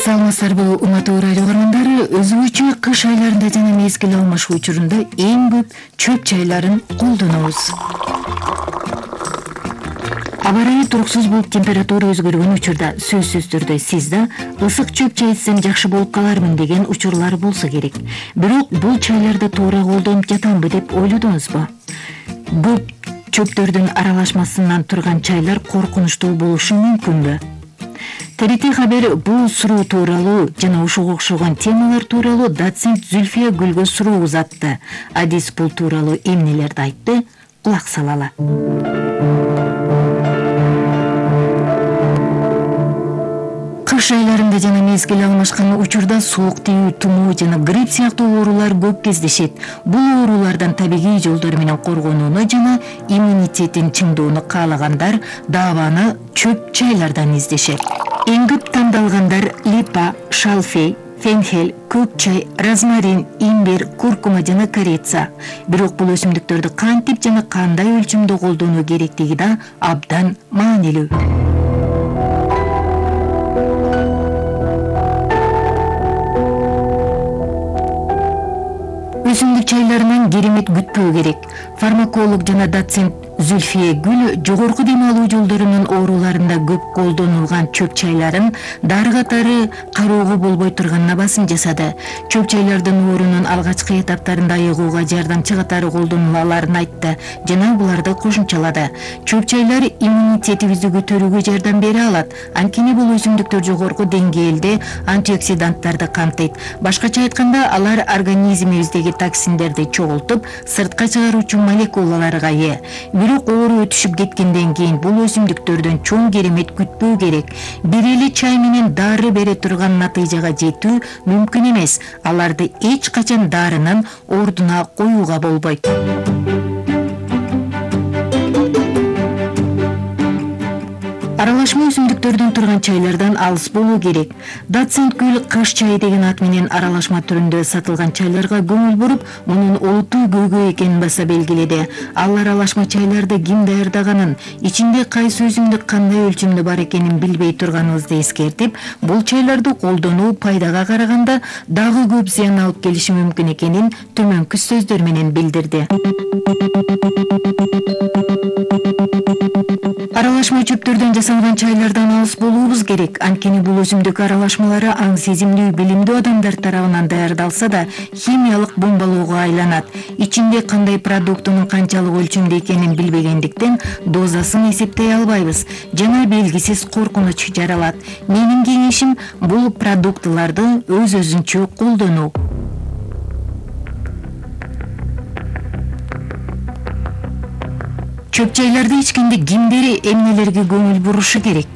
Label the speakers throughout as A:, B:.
A: Саламатсыздарбы урматтуу радио көрөрмөндөрү, өзгөчө кыш айларында жана мезгил алмашуу учурунда эң көп чөп чайларын колдонобуз. Аба ырайы туруксуз болуп температура өзгөргөн учурда сөзсүз түрдө сиз да ысык чөп чай ичсем жакшы болуп калармын деген учурлар болсо керек. Бирок бул чайларды туура колдонуп жатамбы деп ойлодуңузбу? Көп чөптөрдүн аралашмасынан турган чайлар коркунучтуу болушу мүмкүнбү? ТРТ Хабар бул суроо тууралуу жана ушуга окшогон темалар тууралуу доцент Зүлфия Гүлгө суроо узатты. Адис бул тууралуу эмнелерди айтты? Кулак салалы. Кыш айларында жана мезгил алмашкан учурда суук тийүү, тумоо жана грипп сыяктуу оорулар көп кездешет. Бул оорулардан табигый жолдор менен коргонууну жана иммунитетин чыңдоону каалагандар даабаны чөп чайлардан издешет. Эң көп тандалгандар липа, шалфей, фенхель, көк чай, розмарин, имбир, куркума жана корица. Бирок бул өсүмдүктөрдү кантип жана кандай өлчөмдө колдонуу керектиги да абдан маанилүү. Өсүмдүк чайларынан керемет күтпөө керек. Фармаколог жана доцент Зүлфия Гүл жогорку дем алуу жолдорунун ооруларында көп колдонулган чөп чайларын дары катары кароого болбой турганына басым жасады. Чөп чайлардын оорунун алгачкы этаптарында айыгууга жардамчы катары колдонула аларын айтты жана буларды кошумчалады. Чөп чайлар иммунитетибизди көтөрүүгө жардам бере алат. Анткени бул өсүмдүктөр жогорку деңгээлде антиоксиданттарды камтыйт. Башкача айтканда, алар организмибиздеги токсиндерди чогултуп, сыртка чыгаруучу молекулаларга ээ. Бирок оору өтүшүп кеткенден кийин бул өсүмдүктөрдөн чоң керемет күтпөө керек. Бир эле чай менен дары бере турган натыйжага жетүү мүмкүн эмес. Аларды эч качан дарынын ордуна коюуга болбойт. Аралашма өсүмдүктөрдөн турган чайлардан алыс болуу керек. Доцент Гүл кыш чайы деген ат менен аралашма түрүндө сатылган чайларга көңүл буруп, мунун олуттуу көйгөй экенин баса белгиледи. Ал аралашма чайларды ким даярдаганын, ичинде кайсы өсүмдүк кандай өлчөмдө бар экенин билбей турганыбызды эскертип, бул чайларды колдонуу пайдага караганда дагы көп зыян алып келиши мүмкүн экенин төмөнкү сөздөр менен билдирди. Аралашма чөптөрдөн жасалган чайлардан алыс болуубуз керек. Анткени бул өсүмдүк аралашмалары аң сезимдүү, билимдүү адамдар тарабынан даярдалса да, химиялык бомбалоого айланат. Ичинде кандай продуктунун канчалык өлчөмдө экенин билбегендиктен дозасын эсептей албайбыз жана белгисиз коркунуч жаралат. Менин кеңешим бул продуктыларды өз-өзүнчө колдонуу. Чөп чайларды ичкенде кимдер эмнелерге көңүл бурушу керек?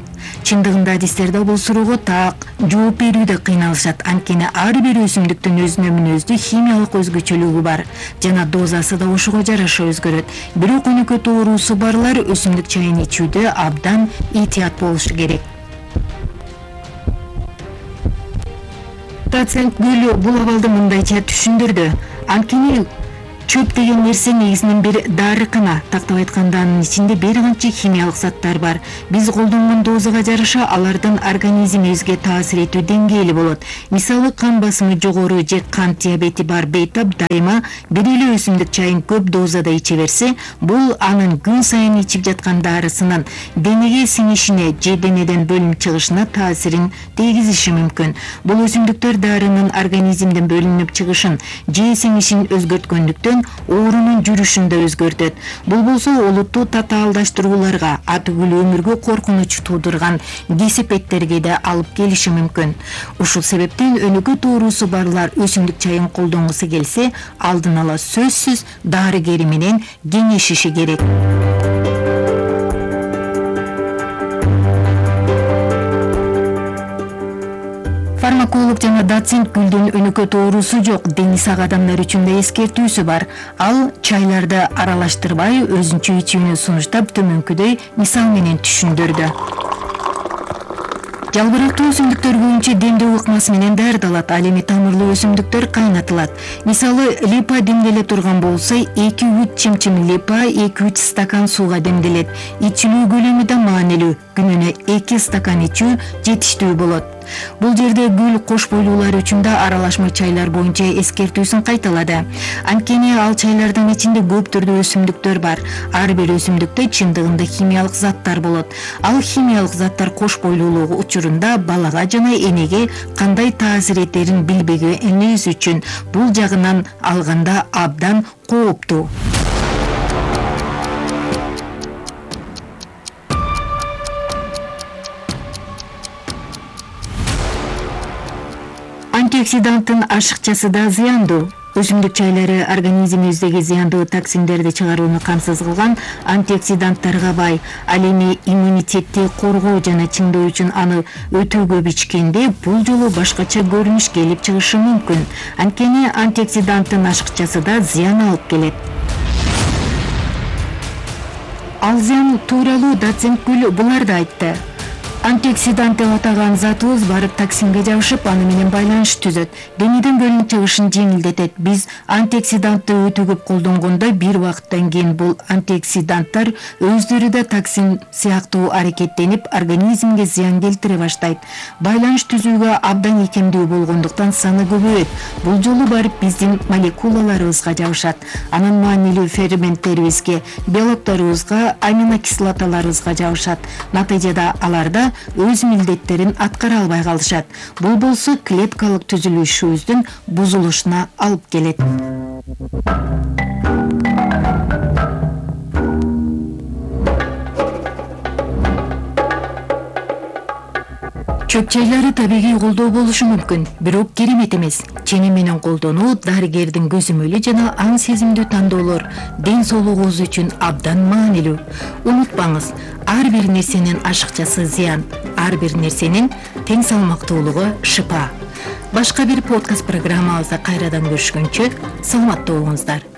A: Чындыгында адистерде бул суроого так жооп берүүдө кыйналышат. Анткени ар бир өсүмдүктүн өзүнө мүнөздүү химиялык өзгөчөлүгү бар жана дозасы да ошого жараша өзгөрөт. Бирок өнөкөт оорусу барлар өсүмдүк чайын ичүүдө абдан этият болушу керек. Доцент Гүл бул абалды мындайча түшүндүрдү. Анткени чөп деген нерсе негизинен бир дарыкана. Тактап айтканда, анын ичинде бир канча химиялык заттар бар. Биз колдонгон дозага жараша алардын организмибизге таасир этүү деңгээли болот. Мисалы, кан басымы жогору же кант диабети бар бейтап дайыма бир эле өсүмдүк чайын көп дозада иче берсе, бул анын күн сайын ичип жаткан дарысынын денеге сиңишине же денеден бөлүнүп чыгышына таасирин тийгизиши мүмкүн. Бул өсүмдүктөр дарынын организмден бөлүнүп чыгышын же сиңишин өзгөрткөндүктөн оорунун жүрүшүн да өзгөртөт. Бул болсо олуттуу татаалдаштырууларга, атүгүл өмүргө коркунуч туудурган кесепеттерге да алып келиши мүмкүн. Ушул себептен өнөкөт оорусу барлар өсүмдүк чайын колдонгусу келсе, алдын ала сөзсүз дарыгери менен кеңешиши керек. Фармаколог жана доцент Гүлдүн өнөкөт оорусу жок, дени сак адамдар үчүн да эскертүүсү бар. Ал чайларды аралаштырбай өзүнчө ичүүнү сунуштап төмөнкүдөй мисал менен түшүндүрдү. Жалбырактуу өсүмдүктөр көбүнчө демдөө ыкмасы менен даярдалат. Ал эми тамырлуу өсүмдүктөр кайнатылат. Мисалы, липа демделе турган болсо, 2-3 чымчым липа 2-3 стакан сууга демделет. Ичилүү көлөмү да маанилүү. Күнүнө 2 стакан ичүү жетиштүү болот. Бул жерде гүл кош бойлуулар үчүн да аралашма чайлар боюнча эскертүүсүн кайталады. Анткени ал чайлардын ичинде көп түрдүү өсүмдүктөр бар. Ар бир өсүмдүктө чындыгында химиялык заттар болот. Ал химиялык заттар кош бойлуулугу учурунда балага жана энеге кандай таасир этерин билбегенибиз үчүн бул жагынан алганда абдан кооптуу. Антиоксиданттын ашыкчасы да зыяндуу. Өсүмдүк чайлары организмибиздеги зыяндуу токсиндерди чыгарууну камсыз кылган антиоксиданттарга бай. Ал эми иммунитетти коргоо жана чыңдоо үчүн аны өтө көп ичкенде бул жолу башкача көрүнүш келип чыгышы мүмкүн. Анткени антиоксиданттын ашыкчасы да зыян алып келет. Ал зыян тууралуу доцент Гүл буларды айтты. Антиоксидант деп атаган затыбыз барып токсинге жабышып, аны менен байланыш түзөт. Денеден бөлүнүп чыгышын жеңилдетет. Биз антиоксидантты өтө көп колдонгондо бир убакыттан кийин бул антиоксиданттар өздөрү да токсин сыяктуу аракеттенип, организмге зыян келтире баштайт. Байланыш түзүүгө абдан икемдүү болгондуктан саны көбөйөт. Бул жолу барып биздин молекулаларыбызга жабышат. Анын маанилүү ферменттерибизге, белокторубузга, аминокислоталарыбызга жабышат. Натыйжада аларда өз милдеттерин аткара албай калышат. Бул болсо клеткалык түзүлүшүбүздүн бузулушуна алып келет. Чөп чайлары табигый колдоо болушу мүмкүн, бирок керемет эмес. Ченем менен колдонуу дарыгердин көзөмөлү жана аң сезимдүү тандоолор ден соолугубуз үчүн абдан маанилүү. Унутпаңыз, ар бир нерсенин ашыкчасы зыян, ар бир нерсенин тең салмактуулугу шыпа. Башка бир подкаст программабызда кайрадан көрүшкөнчө саламатта болуңуздар.